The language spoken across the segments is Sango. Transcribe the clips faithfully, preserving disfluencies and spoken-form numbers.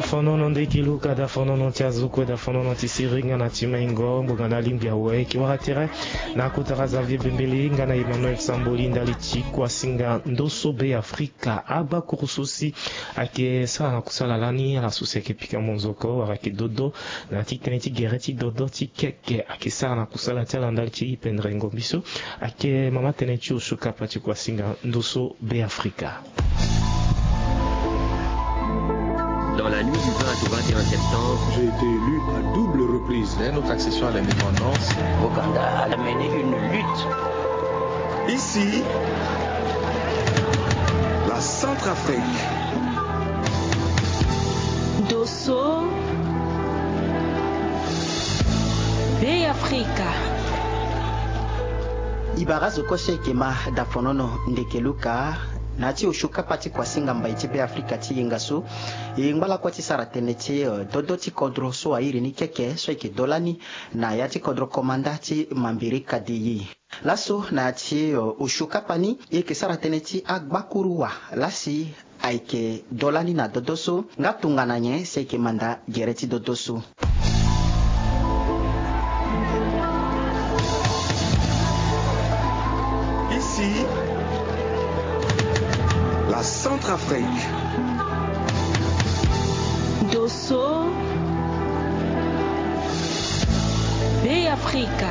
Fonono ndeke luka, da fonono ti azo kue, da fonono ti siriri nga na ti maingo, ngbonga na alingbi awe. Eke wara tere na kota Razavie Bembele nga na Emmanuel Samboli ndali ti kuasinga ndoso Be Afrika. Agbakuru so si ayeke sara na kusala lani, ala so si ayeke pika monzoko wala ayeke dodo na ti tënë ti gere ti dodo ti keke, ayeke sara na kusala ti ala ndali ti pendere ngombi so. Ayeke mama tënë ti osio kapa ti kuasinga ndoso Be Afrika. Dans la nuit du vingt au vingt et un septembre, j'ai été élu à double reprise. Dès notre accession à l'indépendance, Ouganda a mené une lutte. Ici, la Centrafrique. Ndoso Be Afrika. E bara azo kue so ayeke ma da fonono ndeke luka na ya ti osio kapa ti kuasinga mbai ti Be Afrika ti yenga so. E ngba lakue ti sara tënë ti, eh, dodo ti kodro so airi ni keke so ayeke do lani na ya ti kodro komanda ti Mambiri Kadeyi. Laso na ya ti, eh, osio kapa ni e yeke sara tënë ti agbakuru wa lasi ayeke do lani na dodo so nga tongana nyen si ayeke manda gere ti dodo so. Ici, la Centrafrique. Ndoso Be Afrika.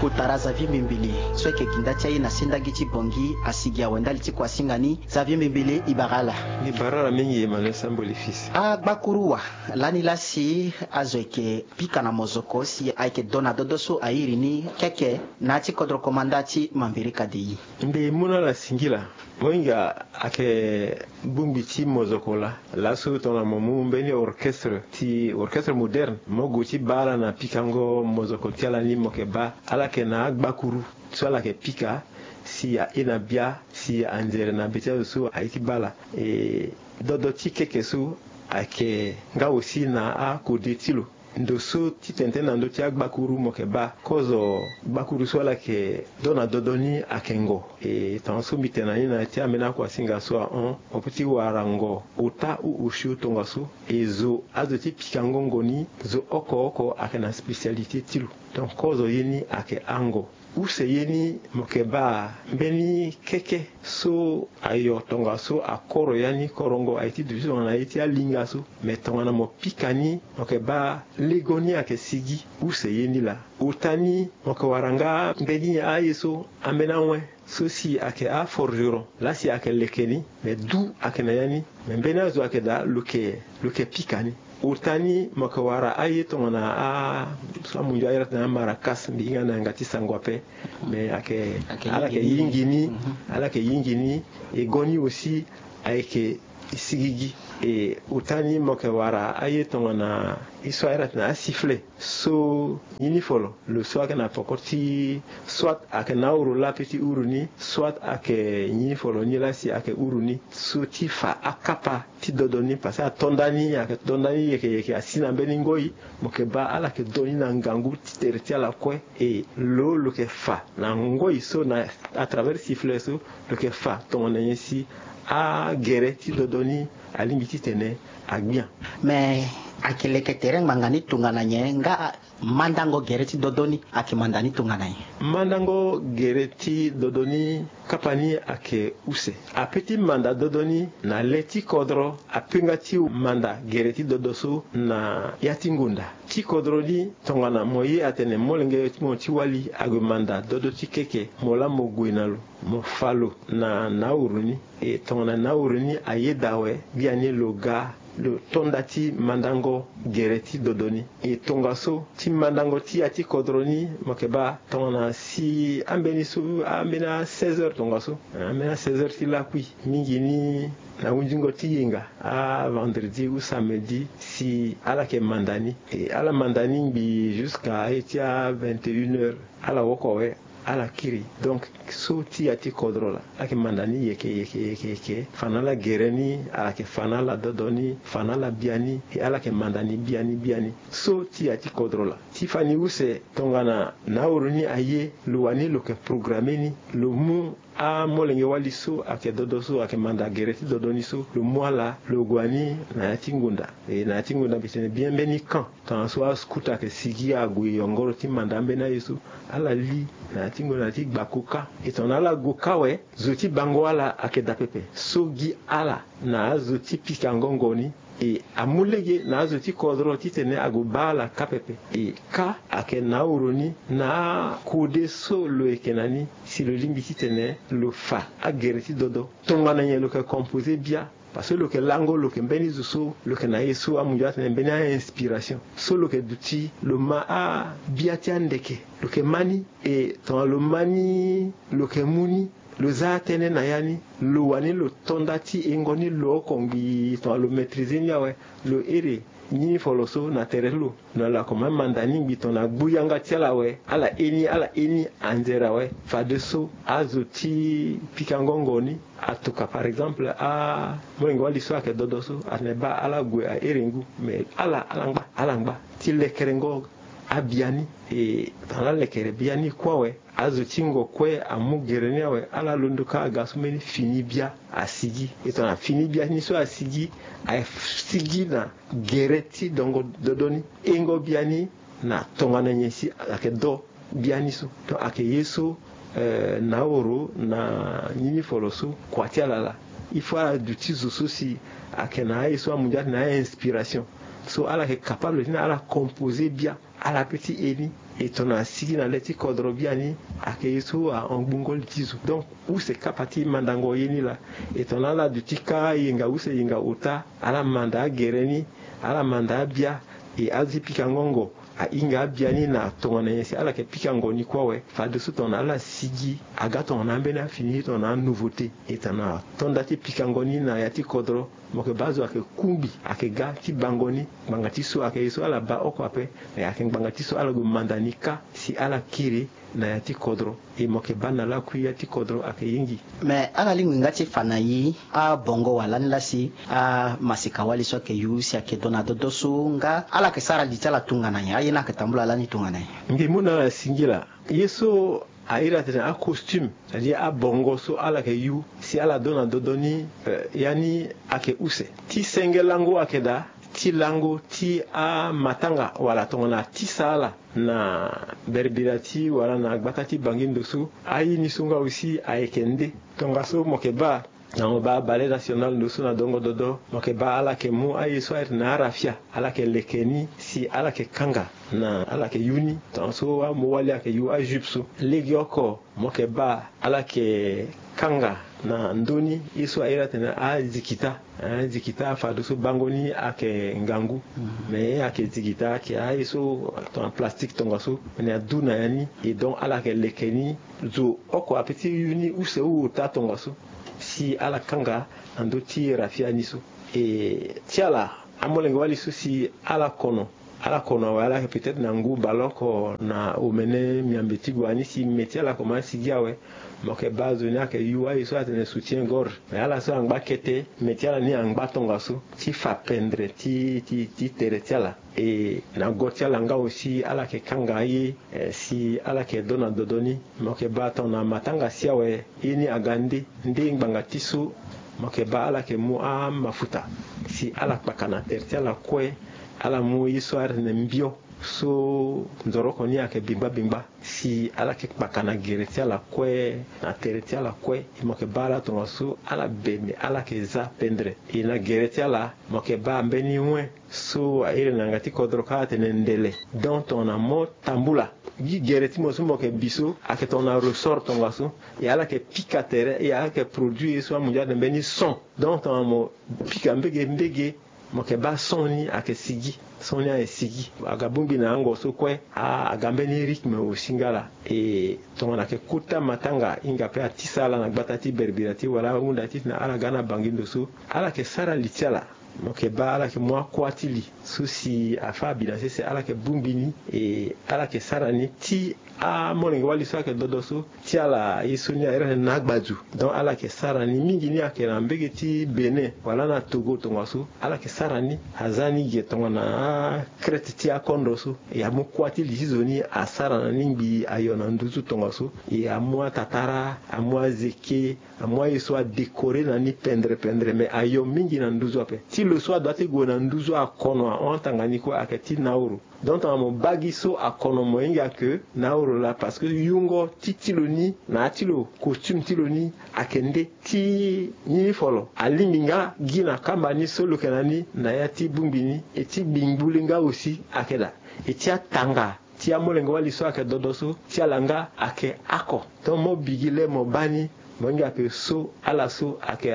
Kota Razavie Bembele so ayeke ginda ti aye na sendagi ti Bangui asigi awe ndali ti kuasinga ni. Xavier Mbembele, e bara ala. E bara ala mingi, Emmanuel Samboli fils. Agbakuru wa lani lasi azo ayeke pika na mozoko si ayeke do na dodo so airi ni keke na ya ti kodro komanda ti Mambiri Kadeyi. Mbi mu na ala singila. Mohinga ayeke bongbi ti mozoko laa. Laso tongana mo mu mbeni orchestre ti orchestre moderne, mo gue ti baa ala na pikango mozoko ti ala ni, mo yeke baa ala yeke na agbakuru so ala yeke pika si aye na bia, si anzere na be ti azo so aye ti baa ala. E, dodo ti keke so ayeke nga aussi na akode ti lo. Ndo so ti tene tënë na ndö ti agbakuru mo yeke baa kozo gbakuru so ala yeke do na dodo ni ayeke ngo. E, tongaso mbi tene na ni na ya ti ambeni akuasinga so ahon, mo peut ti wara ngo ota ou osio tongaso. E zo azo ti pikango ngo ni, zo oko oko ayeke na spécialité ti lo. Donc kozo ye ni ayeke ango. Use ye ni mo yeke baa mbeni keke so ayo tongaso akoro ya ni korongo aye ti duti tongana ye ti alinga so. Me tongana mo pika ni mo yeke baa lego ni ayeke sigi. Use ye ni laa. Ota ni mo yeke wara nga mbeni aye so ambeni awen so si ayeke aforgeron laa si ayeke leke ni. Me du ayeke na ya ni. Me mbeni azo ayeke daa lo yeke, lo yeke pika ni. Ota ni mo yeke wara aye tongana a so amunzu aye atene amarakas, mbi hinga na yanga ti sango ape. Me ayeke, ala yeke yingi ni. Ala yeke yingi ni. E go ni aussi ayeke sigigi. E ota ni mo yeke wara aye tongana ye so aye atene asifflet so ni ni folo. Lo so ayeke na poko ti soit ayeke na uru laa pe ti uru ni, soit ayeke ni ni folo ni laa si ayeke uru ni so ti fa akapa ti dodo ni, parce que atonda ni ayeke tonda ni yeke yeke asi na mbeni ngoi. Mo yeke baa ala yeke do ni na ngangu ti tere ti ala kue. E lo lo yeke fa na ngoi so na à travers sifflet so lo yeke fa tongana nyen si agere ti dodo ni alingbi titene agbia. Me ayeke leke tere ngbanga ni tongana nyen nga mandango gere ti dodo ni ayeke manda ni tongana nyen? Mandango gere ti dodo ni kapa ni ayeke use. Ape ti manda dodo ni na le ti kodro apenga ti manda gere ti dodo so na ya ti ngonda ti kodro ni. Tongana mo ye atene molenge ti mo ti wali ague manda dodo ti keke, mo laa mo gue na lo, mo fa lo na nauru ni. E tongana nauru ni ayeda awe, biani lo ga lo tonda ti mandango gere ti dodo ni. E tongaso ti mandango ti ya ti kodro ni mo yeke baa tongana si ambeni so, ambeni a seize heures tongaso, ambeni a seize heures ti lakui mingi ni na hunzingo ti yenga, a vendredi ou samedi, si ala yeke manda ni. E ala manda ni ngbii jusqu'à aye ti a vingt et une heures, ala woko awe, ala kiri. Donc so ti ya ti kodro laa ala yeke manda ni yeke yeke yeke yeke. Fa na ala gere ni, ala yeke fa na ala dodo ni, fa na ala biani. E ala yeke manda ni biani biani. So ti ya ti kodro laa ti fa ni use tongana nauru ni aye, lo wani lo yeke programme ni, lo mu amolenge-wali so ayeke dodo so ayeke manda gere ti dodo ni so, lo mu ala lo gue ni na ya ti ngonda. E na ya ti ngonda mbi tene bien mbeni camp. Tongana so ascout ayeke sigi ague yongoro ti manda ambeni aye so, ala li na ya ti ngonda ti gbako kâ. E tongana ala gue kâ awe, zo ti bango ala ayeke daa pepe. So gi ala na azo ti pikango ngo ni, e amu lege na azo ti kodro titene ague baa ala kâ pepe. E kâ ayeke na ahoro ni na akode so lo yeke na ni, si lo lingbi titene lo fa agere ti dodo. Tongana nyen lo yeke composer bia? Parce que lo yeke lango, lo yeke mbeni zo so lo yeke na ye so amu ndio atene mbeni a-inspiration. So lo yeke duti lo ma abia ti andeke, lo yeke ma ni. E tongana lo ma ni, lo yeke mu ni, lo za atënë na ya ni, lo wani lo to nda ti hengo ni lo oko ngbii. Tongana lo maîtriser ni awe, lo here ni folo so na tere ti lo. Lo na lo akomanse manda ni ngbii tongana gbu yanga ti ala awe, ala he ni, ala he ni anzere awe. Fadeso azo ti pikango ngo ni atuka, par exemple, amolenge-wali so ayeke dodo so atene baa ala gue ahere ngu. Mais ala, ala ngba, ala ngba ti lekerengo abia ni. E tongana alekere bia ni kue awe, azo ti ngo kue amu gere ni awe, ala londo kâ aga so mbeni fini bia asigi. E tongana fini bia ni so asigi, asigi na gere ti dongo dodo ni, hengo bia ni na tongana nyen si ayeke do bia ni so. Donc ayeke ye so, eh, na ahoro na ni ni folo so kua ti ala laa. Il faut ala duti zo so si ayeke na aye so amu ndio atene a-inspiration. So ala yeke capable titene ala composer bia. Ala pe ti e ni. E tongana asigi na le ti kodro biani, ayeke ye so ahon gbungo li ti zo. Donc use kapa ti mandango ye ni laa. E tongana ala duti kâ yenga use yenga ota, ala manda agere ni, ala manda abia. E azo ti pikango ngo ahinga abia ni na tongana nyen si ala yeke pikango ni kue awe. Fadeso tongana ala sigi aga tongana ambeni afini, tongana anouveauté. E tongana ato nda ti pikango ni na ya ti kodro, mo yeke baa azo ayeke kungbi, ayeke ga ti bango ni. Ngbanga ti so ayeke ye so ala baa oko ape. Me ayeke ngbanga ti so ala gue manda ni kâ si ala kiri na ya ti kodro. E mo yeke baa na lakui ya ti kodro ayeke ye ngi. Me ala lingbi nga ti fa na e abongo wala ni laa si amasika-wali so ayeke yu si ayeke do na dodo so nga ala yeke sara li ti ala tongana nyen? Aye ni ayeke tambula lani tongana nyen? Mbi mu na ala singila ye so a iri atene acostume, c'est-à-dire abongo so ala yeke yu si ala do na dodo ni, eh, ya ni ayeke use. Ti senge lango ayeke daa, ti lango ti amatanga wala tongana atisa ala na berbira ti wala na gbata ti Bangi ndo so, aye ni so nga aussi ayeke nde. Tongaso mo yeke baa na mo baa Ballet National ndo so na dongo dodo, mo yeke baa ala yeke mu aye so a iri na arafia, ala yeke leke ni si ala yeke kanga na ala yeke yu ni. Tongaso amu wali ayeke yu ajupe so. Legeoko mo yeke baa ala yeke kanga na ndö ni ye so a iri atene azikita. Azikita fadeso bango ni ayeke ngangu. Me ayeke zikita ayeke aye so tongana plastique tongaso, me na adu na ya ni. E donc ala yeke leke ni. Zo oko ape ti yu ni use ota tongaso si ala kanga na ndö ti rafia ni so. E ti ala amolenge-wali so si ala kono, ala kono awe, ala yeke peut-être na ngu baleoko na omene miambe ti gue ni si me ti ala komanse sigi awe. Mo yeke baa zo ni ayeke yu aye so atene soutien gorge. Me ala so angba kete, me ti ala ni angba tongaso ti fa pendre ti, ti, ti tere ti ala. E na go ti ala nga aussi ala yeke kanga ye, eh, si ala yeke do na dodo ni. Mo yeke baa tongana matanga si awe, ye ni aga nde, nde ngbanga ti so mo yeke baa ala yeke mu amafuta si ala kpaka na tere ti ala kue. Ala mu ye so a iri atene mbio so nzoroko ni ayeke bingba bingba, si ala yeke kpaka na gere ti ala kue, na tere ti ala kue. E mo yeke baa ala tongaso ala be me ala yeke za pendre. E na gere ti ala mo yeke baa mbeni wen so a iri na yanga ti kodro kâ atene ndele. Donc tongana mo tambula gi gere ti mo so mo yeke bi so ayeke tongana ressort tongaso. E ala yeke pika tere, e ala yeke produit ye so amu ndia atene mbeni son. Donc tongana mo pika mbege mbege, mo yeke baa son ni ayeke sigi. Son ni ayeke sigi. Aga bongbi na yango so kue, a, aga mbeni rythme aussi nga laa. E tongana ayeke kota matanga, hinga pe atisa ala na gbata ti berbira ti wala ahunda titene ala ga na Bangi ndo so, ala yeke sara li ti ala. Mo yeke baa ala yeke mu akua ti li so si afâ abi na sese, ala yeke bongbi ni. E ala yeke sara ni ti amolenge-wali so ayeke dodo so, ti ala ye so ni airi atene na agbaju. Donc ala yeke sara ni mingi ni ayeke na mbege ti Bénin wala na Togo tongaso. Ala yeke sara ni aza ni ge tongana akrete ti akondro so. E amu kua ti li ti zo ni asara na ni ngbii ayo na nduzu tongaso. E amu atatara, amu azeke, amu aye so adécorer na ni pendre pendre, me ayo mingi na nduzu ape. Ti lo so adoit ti gue na nduzu akono ahon atanga ni kue ayeke ti Nauru. Donc tongana mo baa gi so akono, mo hinga ke Nauru laa, parce que yungo ti ti lo ni na ya ti lo, costume ti lo ni ayeke nde ti ni folo. Alingbi nga gi na kamba ni so lo yeke na ni na ya ti bongbi ni. E ti gbingbu le nga aussi ayeke daa. E ti atanga ti amolenge-wali so ayeke dodo so, ti ala nga ayeke oko. Donc mo bi gi le mo baa ni, mo hinga ke so ala so ayeke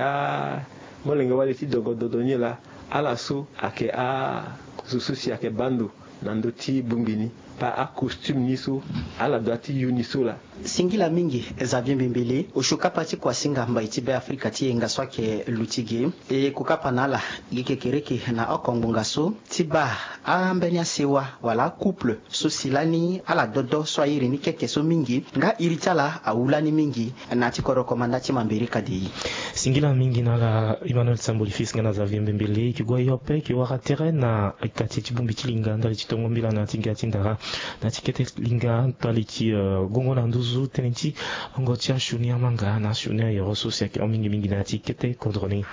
amolenge-wali ti dongo dodo ni laa, ala so ayeke azo so si ayeke baa ndo na ndö ti bongbi ni. Baa acostume ni so ala doit ti yu ni so laa. Singila mingi Xavier Mbembele, osio kapa ti kuasinga mbai ti Be Afrika ti yenga so ayeke luti ge. E ko kapa na ala gi kekereke na oko ngbonga so ti baa ambeni asewa wala acouple so si lani ala dodo so airi ni keke so mingi, nga iri ti ala awu lani mingi na ya ti kodro komanda ti Mambéré Kadei. Singila mingi na ala Emmanuel Samboli Fils nga na Xavier Mbembele. E ke gue ayo ape, e ke wara tere na kati ti bongbi ti linga ndali ti tongo mbila na ya ti ga ti ndara, na ya ti kete linga ndali ti, eh, gongo na nduzu, tënë ti ongo ti asioni amanga na asioni ayoro so si ayeke hon mingi mingi na ya ti kete kodro ni.